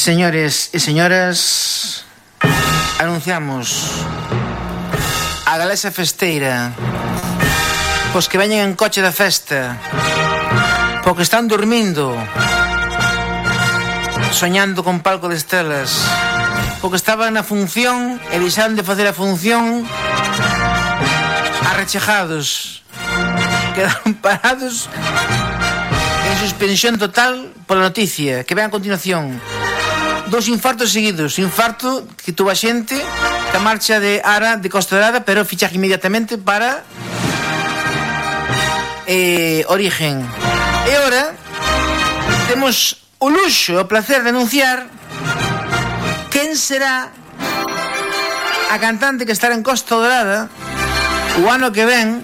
Señores e señoras, anunciamos a galesa festeira, pois que veñen en coche da festa, porque están dormindo, soñando con palco de estrelas, porque estaban na función e deixaron de facer a función arrechejados, quedaron parados en suspensión total pola noticia que ven a continuación. 2 infartos seguidos. Infarto que tuvo a xente que a marcha de Ara de Costa Dorada, pero fichaje inmediatamente para Origen. E ora temos o luxo e o placer de anunciar quen será a cantante que estará en Costa Dorada o ano que ven,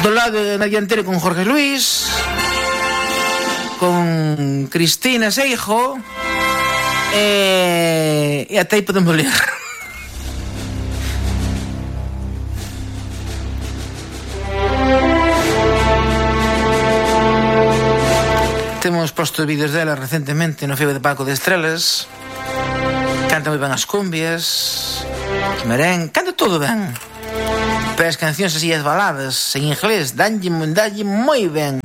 do lado na dianteira con Jorge Luis, con Cristina Seijo, e até aí podemos ler. Temos posto vídeos dela recentemente no Feo de Palco de Estrelas. Canta moi ben as cumbias, merén, canta todo ben. Pero as cancións así, as baladas en inglés, danlle moi ben,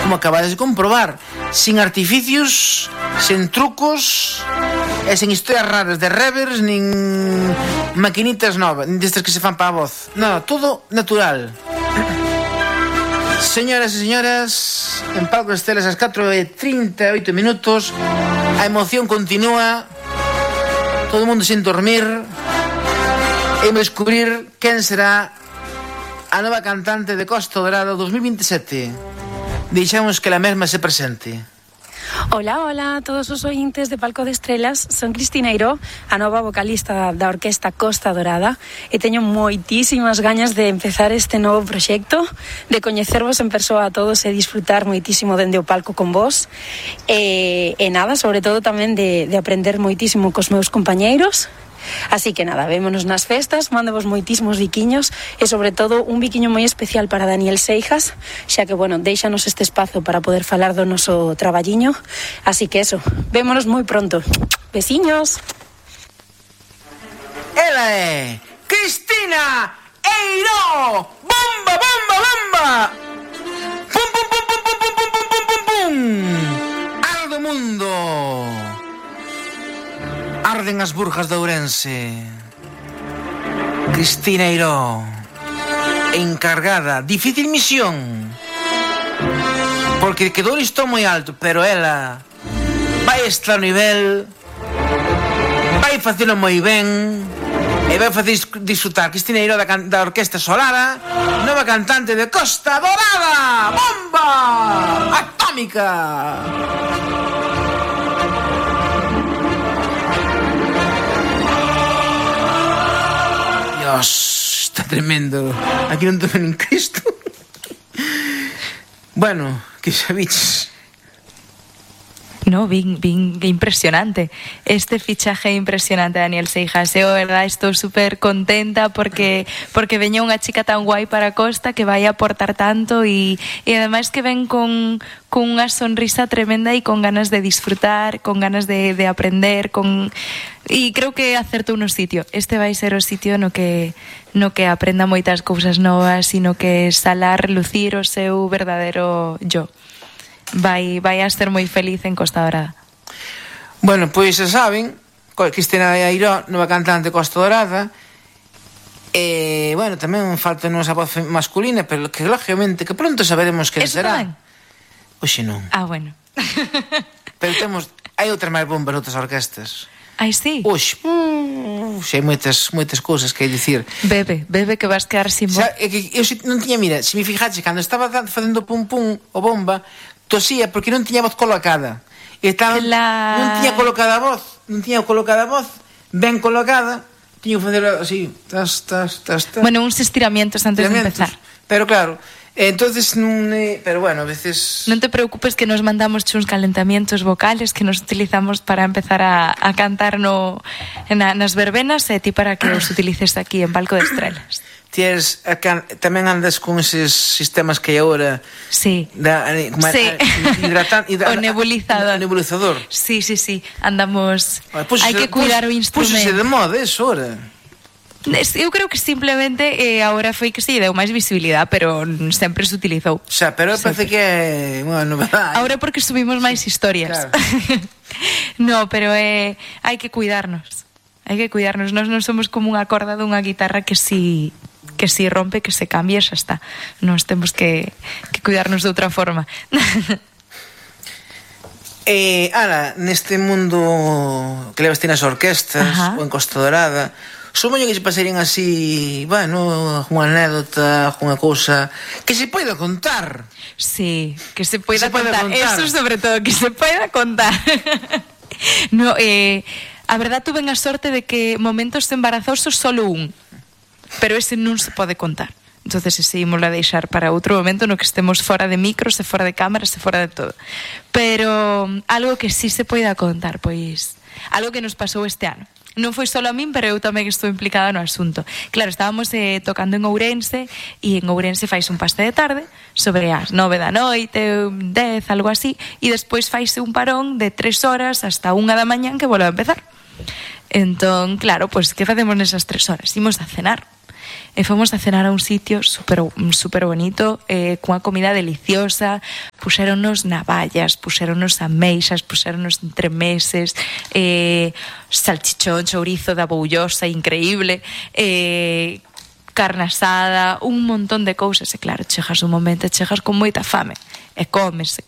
como acabades de comprobar, sin artificios, sen trucos e sen historias raras de reverbs nin maquinitas novas, nin destas que se fan para a voz. Non, todo natural. Señoras e señoras, en Palco de Estrelas ás 4:38 minutos, a emoción continúa, todo o mundo sin dormir, e descubrir quen será a nova cantante de Costa Dorada 2027. Deixamos que la mesma se presente. Hola, hola a todos os ointes de Palco de Estrelas. Son Cristina Eiró, a nova vocalista da Orquesta Costa Dorada, e teño moitísimas gañas de empezar este novo proxecto, de coñecervos en persoa a todos e disfrutar moitísimo dende o palco con vos, e nada, sobre todo tamén de aprender moitísimo cos meus compañeiros. Así que nada, vémonos nas festas, mándevos moitísimos biquiños e sobre todo un biquiño moi especial para Daniel Seijas, xa que, bueno, déixanos este espazo para poder falar do noso traballiño. Así que eso, vémonos moi pronto. Besiños. Ela é Cristina Eiró. Bomba, bomba, bomba. Pum, pum, pum, pum, pum, pum, pum, pum, pum, pum, pum. Aldo mundo. Arden as burjas de Ourense. Cristina Eiró, encargada, difícil misión, porque quedou o listón moi alto, pero ela vai estar a nivel, vai facelo moi ben e vai facer disfrutar. Cristina Eiró da Orquesta Solara, nova cantante de Costa Dorada. Bomba atómica. Dios, está tremendo. Aquí non tomen en Cristo. Bueno, que sabiches. No, bien impresionante. Este fichaje impresionante, Daniel Seijas. Eu, verdad, estou super contenta porque veña unha chica tan guai para a Costa que vai aportar tanto e ademais que ven con unha sonrisa tremenda e con ganas de disfrutar, con ganas de aprender, e creo que acertou no sitio. Este vai ser o sitio no que aprenda moitas cousas novas e no que salar, lucir o seu verdadeiro yo. Vai a ser moi feliz en Costa Dorada. Bueno, pois xa saben, Cristina Eiró, nova cantante de Costa Dorada. E, bueno, tamén falta nosa voz masculina, pero que lógicamente que pronto saberemos quen será. Tamén? Oxe non. Ah, bueno. Pero hai outras máis bombas noutras orquestas. Ai, sí? Oxe, hai moitas cousas que hai dicir. Bebe que vas quedar sin voz. Eu non tiña, mira, se me fijaxe, cando estaba facendo pum pum o bomba, tosía porque non tiña voz colocada. Non tiña colocada a voz, ben colocada, tiña que facer así, tas. Bueno, uns estiramientos antes de empezar. Pero claro, entonces pero bueno, a veces non te preocupes que nos mandamos uns calentamientos vocales que nos utilizamos para empezar a cantar nas verbenas e ti para que os utilices aquí en Palco de Estrelas. tamén andas con eses sistemas que hai agora. Sí. O nebulizador. Sí. Andamos. Hai que cuidar o instrumento. Púxose de moda eso ahora. Eu creo que simplemente agora foi que se lle deu máis visibilidade, pero sempre se utilizou. Xa, pero parece que é unha novedade. Agora porque subimos máis historias. Claro. No, pero hai que cuidarnos. Nós non somos como unha corda dunha guitarra que si rompe, que se cambie, xa está. Nós temos que cuidarnos de outra forma. Ara, neste mundo que levas ti nas orquestas, ou en Costa Dorada, supoño que se pasarían así, bueno, unha anécdota, unha cousa que se poida contar. Sí, que se poida contar. Eso sobre todo, que se poida contar. No, a verdad tuve a sorte de que momentos embarazosos solo un, pero ese non se pode contar. Entonces ese ímolo a deixar para outro momento no que estemos fora de micros, e fora de cámaras, e fora de todo. Pero algo que sí se poida contar, pois algo que nos pasou este ano. Non foi solo a min, pero eu tamén estou implicada no asunto. Claro, estábamos tocando en Ourense, e en Ourense fais un paste de tarde sobre as 9 da noite, 10, algo así, e despois faise un parón de 3 horas hasta 1 da mañán que volve a empezar. Entón, claro, pois que facemos nesas 3 horas? Imos a cenar. E fomos a cenar a un sitio super bonito, cunha comida deliciosa. Puxéronnos navallas, puxéronnos ameixas, puxéronnos entremeses, salchichón, chourizo da boullosa, increíble, carne asada, un montón de cousas. E claro, chegas un momento, chegas con moita fame, e comes, e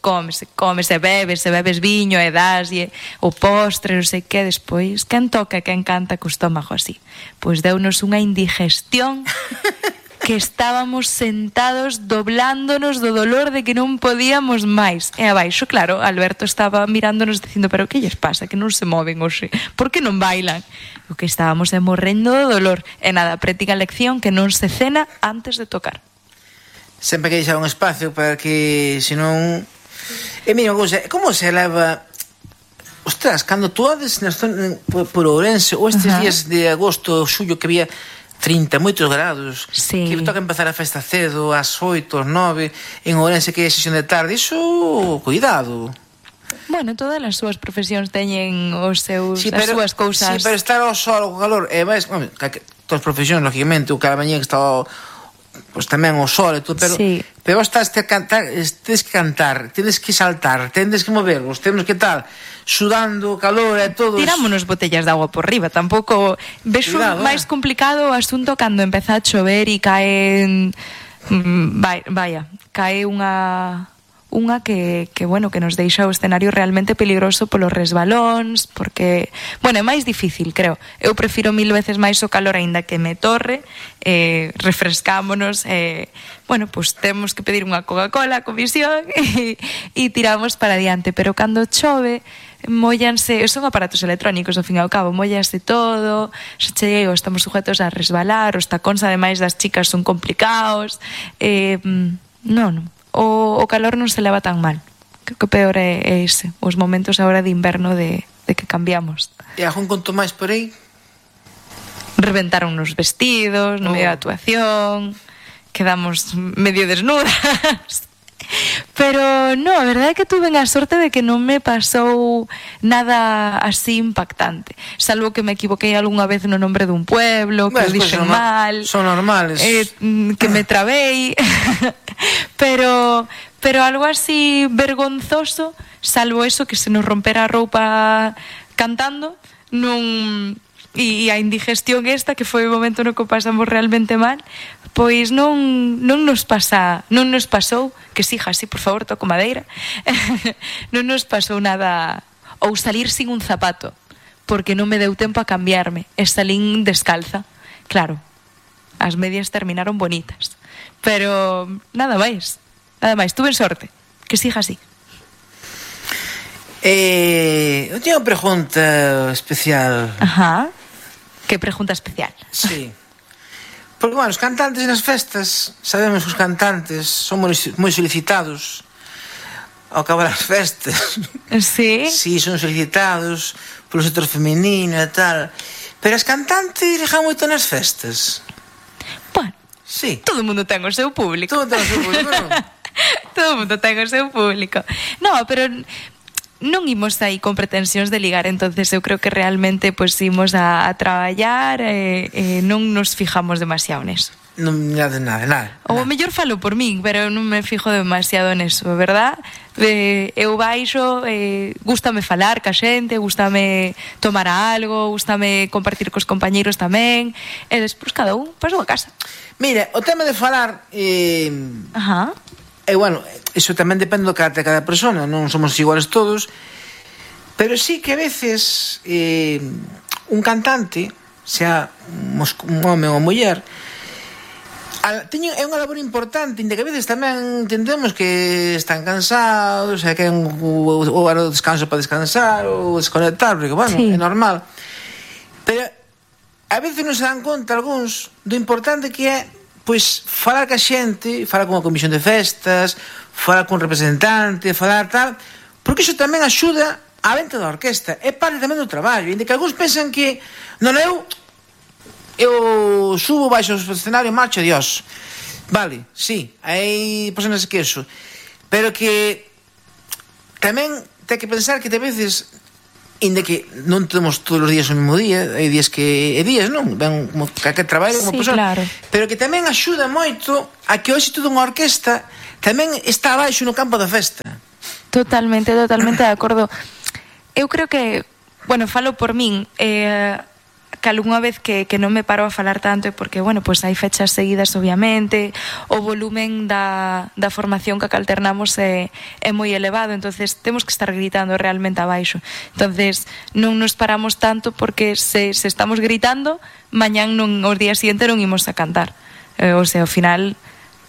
bebes viño, e daslle o postre, non sei que. Despois, quen toca e quen canta co estómago así? Pois deunos unha indigestión que estábamos sentados doblándonos do dolor de que non podíamos máis. E abaixo, claro, Alberto estaba mirándonos dicindo, pero que lles pasa, que non se moven hoxe? Por que non bailan? O que estábamos morrendo do dolor. E nada, práctica lección que non se cena antes de tocar. Sempre que deixar un espacio para que, senón... mira, como se leva... Ostras, cando tú ades por Ourense, ou estes días de agosto, xullo, que había 30, moitos grados, que toca empezar a festa cedo, ás 8, ás 9, en Ourense que é sesión de tarde, iso, cuidado. Bueno, todas as súas profesións teñen as súas cousas. Sí, pero estar ao sol, ao calor, e máis, todas as profesións, lógicamente, o cada mañá que está pois tamén o sol e todo, pero vos tedes que cantar, tedes que saltar, tedes que movervos, temos que estar sudando, calor e todo. Tirámonos botellas de agua por riba, tampouco ves máis complicado o asunto cando empeza a chover e cae unha que bueno, que nos deixa o escenario realmente peligroso polos resbalóns, porque, bueno, é máis difícil, creo. Eu prefiro 1000 veces máis o calor aínda que me torre, refrescámonos, bueno, pues temos que pedir unha Coca-Cola a comisión e tiramos para adiante, pero cando chove mollanse, son aparatos electrónicos ao fin e ao cabo, mollanse todo, se chego, estamos sujetos a resbalar, os tacóns ademais das chicas son complicados, non, o calor non se leva tan mal. Creo que peor é ese, os momentos agora de inverno de que cambiamos. E algún conto máis por aí? Reventaron nos vestidos, no medio da actuación, quedamos medio desnudas. Pero no, a verdade é que tuve a sorte de que non me pasou nada así impactante, salvo que me equivoquei algunha vez no nombre dun pueblo, que o dixen mal, son normales, que me trabei. pero algo así vergonzoso, salvo eso, que se nos rompera a roupa cantando, non... E a indigestión esta, que foi o momento no que pasamos realmente mal, pois non nos pasou, que sija así, por favor, toco madeira, non nos pasou nada, ou salir sin un zapato, porque non me deu tempo a cambiarme, e salín descalza. Claro, as medias terminaron bonitas, pero nada máis, tuve sorte, que sija así. Eu teño unha pregunta especial. Ajá. Que pregunta especial? Sí. Porque, bueno, os cantantes nas festas, sabemos que os cantantes son moi solicitados ao acabar as festas. Sí? Sí, son solicitados polo sector feminino e tal. Pero as cantantes ligan moito nas festas. Bueno, Sí. Todo o mundo ten o seu público. Todo ten o seu público, non? Todo o mundo ten o seu público. No, pero non imos aí con pretensións de ligar, entonces eu creo que realmente pois imos a traballar e non nos fijamos demasiado neso. Non, nada. Ou mellor falo por min, pero non me fijo demasiado neso, verdad? Eu baixo, gústame falar ca xente, gústame tomar algo, gústame compartir cos compañeiros tamén, e despois cada un pasou a casa. Mira, o tema de falar Ajá. bueno, iso tamén depende do carácter de cada persona, non somos iguales todos, pero sí que a veces un cantante, sea un home ou muller, é unha labor importante, inda que a veces tamén entendemos que están cansados, que é ou hora do descanso para descansar ou desconectar, porque, bueno, sí, é normal. Pero a veces non se dan conta algúns do importante que é, pois, falar ca xente, falar con a comisión de festas, falar con representante, falar tal, porque iso tamén axuda a venta da orquesta, é parte tamén do traballo, inda que algúns pensan que non, eu subo baixo o escenario, marcho, adiós. Vale, sí, hai personas que eso, pero que tamén ten que pensar que a veces, inda que non temos todos os días o mesmo día, hai días que días, non? Ben como que traballo como persona, claro, pero que tamén axuda moito a que o éxito dunha orquesta tamén está abaixo no campo da festa. Totalmente de acordo. Eu creo que, bueno, falo por min, que algunha vez que non me paro a falar tanto é porque, bueno, pois hai fechas seguidas, obviamente, o volumen da formación que alternamos é moi elevado, entonces temos que estar gritando realmente abaixo. Entonces non nos paramos tanto porque se estamos gritando, mañán os días siguiente non imos a cantar. O sea, ao final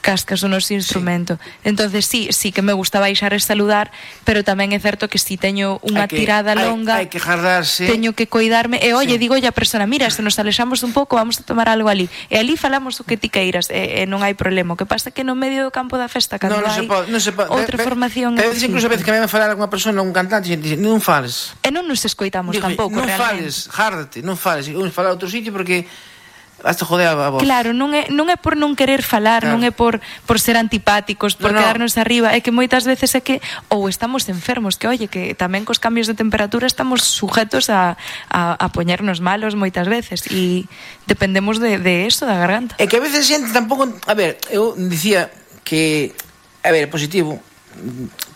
cascas o noso instrumento. Sí. Entonces sí que me gusta baixar e saludar, pero tamén é certo que si teño unha tirada longa, hai que jardarse, teño que coidarme, e oye, digo a persona, mira, se nos alexamos un pouco, vamos a tomar algo ali, e ali falamos o que ti queiras, e non hai problema. O que pasa é que no medio do campo da festa, cando hai outra formación, pero incluso a veces que me falar alguna persona, un cantante, non fales, e non nos escoitamos tampouco, non realmente. Fales, járdate, non fales, vamos falar a outro sitio porque hasta joder a voz. Claro, non é por non querer falar, claro, non é por ser antipáticos, por quedarnos arriba, é que moitas veces é que ou estamos enfermos, que oye, que tamén cos cambios de temperatura estamos sujetos a poñernos malos moitas veces, e dependemos de eso, da garganta. É que a veces xente tampouco, a ver, eu dicía que, a ver, positivo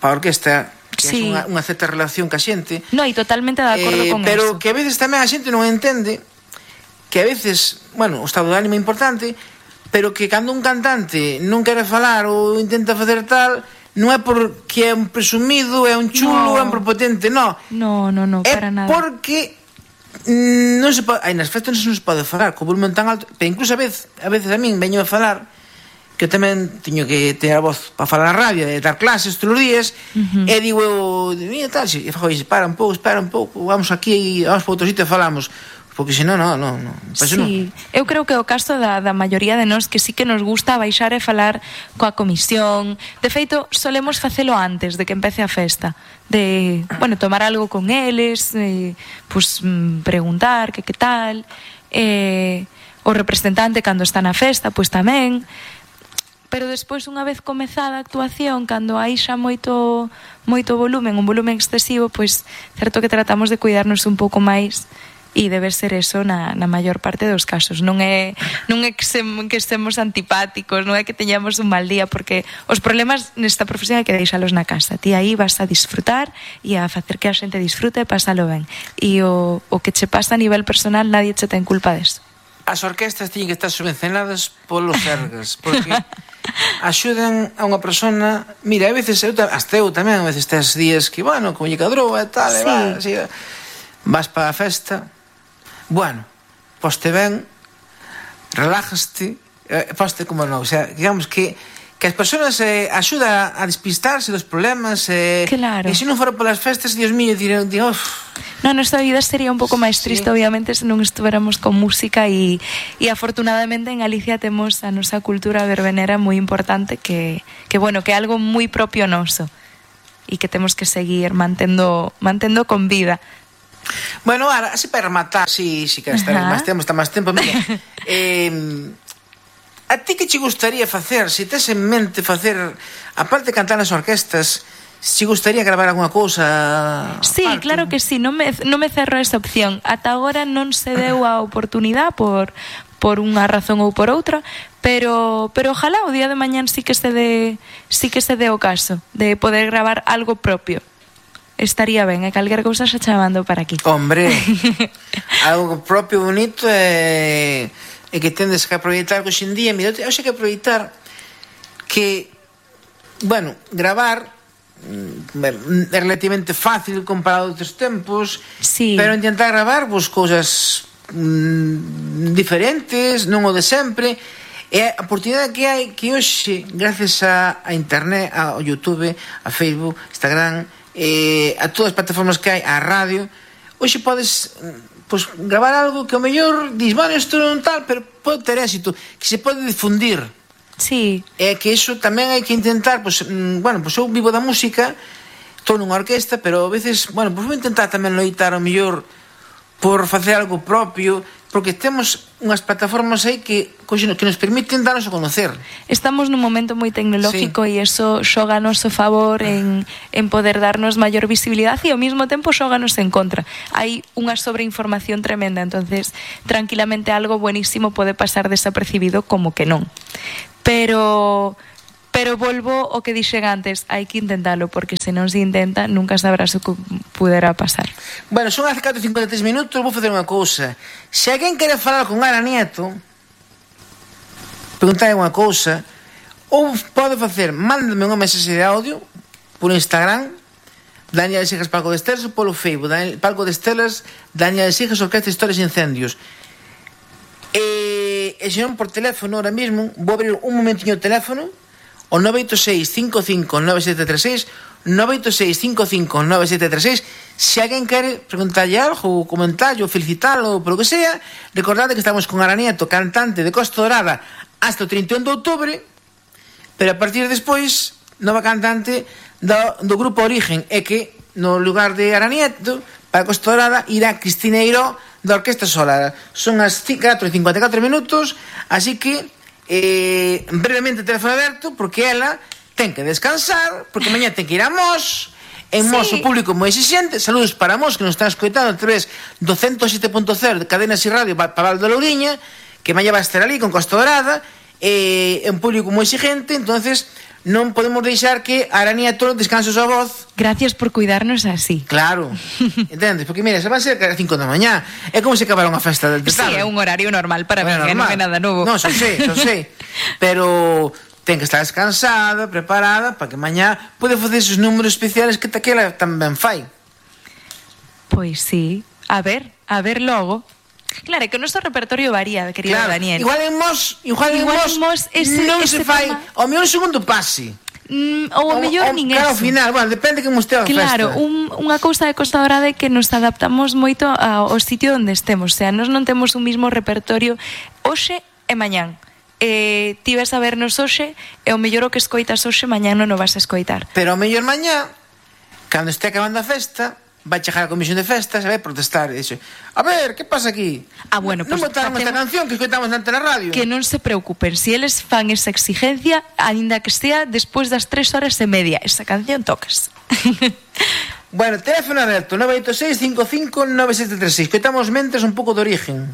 para a orquesta, que sí, é unha certa relación ca xente. No, e totalmente de acordo con pero eso. Pero que a veces tamén a xente non entende que a veces, bueno, o estado de ánimo é importante, pero que cando un cantante non quere falar ou intenta facer tal, non é porque é un presumido, é un chulo, é un prepotente, non. No, para nada. É porque non se pode, nas festas non se pode falar co volumen tan alto, pero incluso a veces a min veño a falar, que eu tamén teño que ter a voz para falar na radio, e dar clases todos os días, e digo eu, mira tal, e fago, espera un pouco, vamos aquí, vamos para outro sitio e falamos. Porque senón, non. Sí, eu creo que o caso da maioría de nós que sí que nos gusta baixar e falar coa comisión. De feito, solemos facelo antes de que empece a festa. De, bueno, tomar algo con eles, pues preguntar que tal. O representante cando está na festa, pues tamén. Pero despois, unha vez comezada a actuación, cando hai xa moito volumen, un volumen excesivo, pues certo que tratamos de cuidarnos un pouco máis. E debe ser eso na maior parte dos casos. Non é que estemos antipáticos, non é que teñamos un mal día, porque os problemas nesta profesión hai que deixalos na casa. Ti aí vas a disfrutar e a facer que a xente disfrute e pasalo ben. E o que che pasa a nivel personal, nadie che ten culpa deso. As orquestas tiñen que estar subvencionadas polos sergas, porque axudan a unha persona. Mira, a veces hasta eu tamén, a veces tes días que, bueno, como lle cadrou e tal, sí, vas para a festa. Bueno, poste ben, relájaste, poste como non, o sea, digamos que as persoas axuda a despistarse dos problemas, claro. E se non fora polas festas, Dios mío, dirán, non, nosa vida sería un pouco máis triste, sí, obviamente, se non estuveramos con música, e afortunadamente en Galicia temos a nosa cultura verbenera moi importante, que bueno, que é algo moi propio noso, e que temos que seguir mantendo con vida. Bueno, ahora, así para rematar, si queres estar máis tempo, mira, A ti que che gustaría facer, se tes en mente facer, aparte de cantar nas orquestas, se gustaría gravar alguna cousa? Sí, aparte? claro que sí, non me cerro esa opción. Ata agora non se deu a oportunidade por unha razón ou por outra, pero ojalá o día de mañán sí que se dé o caso de poder gravar algo propio. Estaría ben, e calquer cousa xa chamando para aquí. Hombre, algo propio bonito é que tendes que aproveitar que hoxendía, mira, eu sei que aproveitar que, bueno, gravar é relativamente fácil comparado a outros tempos, sí. Pero intentar gravar vos cousas diferentes, non o de sempre. É a oportunidade que hai que hoxe, gracias a internet, ao YouTube, a Facebook, Instagram, a todas as plataformas que hai, a radio, hoxe podes gravar algo que ao mellor dis, bueno, isto non tal, pero pode ter éxito, que se pode difundir. Sí. É que iso tamén hai que intentar, eu vivo da música, estou nunha orquesta, pero a veces, vou intentar tamén loitar ao mellor por facer algo propio, porque temos unhas plataformas aí que nos permiten darnos a conocer. Estamos nun momento moi tecnológico e iso xoga a noso favor en poder darnos maior visibilidade e ao mesmo tempo xoganos en contra. Hai unha sobreinformación tremenda, entonces tranquilamente algo buenísimo pode pasar desapercibido como que non. Pero volvo o que dixen antes, hai que intentalo, porque se non se intenta nunca sabrás o que puderá pasar. Bueno, son as 4:53 minutos, vou facer unha cousa. Se alguén quere falar con Ara Nieto, preguntar unha cousa, ou pode facer, mándame unha mensaxe de audio por Instagram, Daniel Sijas Palco de Estelas, ou polo Facebook, Palco de Estelas, Daniel Sijas Orquesta Historias e Incendios. E se non por teléfono, ahora mismo, vou abrir un momentiño o teléfono, o 986-55-9736, 986-55-9736. Se alguén quere preguntarlle algo, ou comentarlle, ou felicitarlo, ou polo que sea, recordade que estamos con Ara Nieto, cantante de Costa Dorada, hasta o 31 de outubro, pero a partir de despois, nova cantante do grupo Origen, é que no lugar de Ara Nieto, para Costa Dorada, irá Cristina Eiró, da Orquesta Solar. Son as 4:54 minutos, así que brevemente teléfono aberto, porque ela ten que descansar, porque mañá ten que ir a Mos. En Mos o público moi exixente. Saludos para Mos, que nos están escoitando a través do 107.0 de Cadenas e Radio para Val de Louriña, que mañá vai estar ali con Costa Dorada, un público moi exigente. Entonces non podemos deixar que Ara Nieto descanse a súa voz. Gracias por cuidarnos así. Claro, entendes? Porque mira, se van a ser a 5 da mañá. É como se acabaron a festa del Sí, tarde. é un horario normal para mí, que non é nada novo. Non, xa sei. Pero ten que estar descansada, preparada, para que mañá pode facer esos números especiales que taquela tamén fai. Pois sí, a ver logo. Claro, é que o noso repertorio varía, querido Daniel. Igual en Mos non se fai ao mellor un segundo pase. Ou ao mellor nin eso. Claro, ao final, bueno, depende que mostea a festa. Claro, unha cousa de Costa Dorada é que nos adaptamos moito ao sitio onde estemos. O sea, nós non temos un mismo repertorio hoxe e mañán. Ti vas a vernos hoxe e ao mellor o que escoitas hoxe mañán non o vas a escoitar. Pero ao mellor mañá, cando este acabando a festa, vai chegar a comisión de festas e vai protestar e dixe, a ver, que pasa aquí? Bueno, non botaron esta canción que escoitamos ante na radio. Que non se preocupen, si eles fan esa exigencia, aínda que sea despois das 3:30, esa canción tocas. Bueno, teléfono aberto 986-55-9736. Escoitamos mentes un pouco de Origen.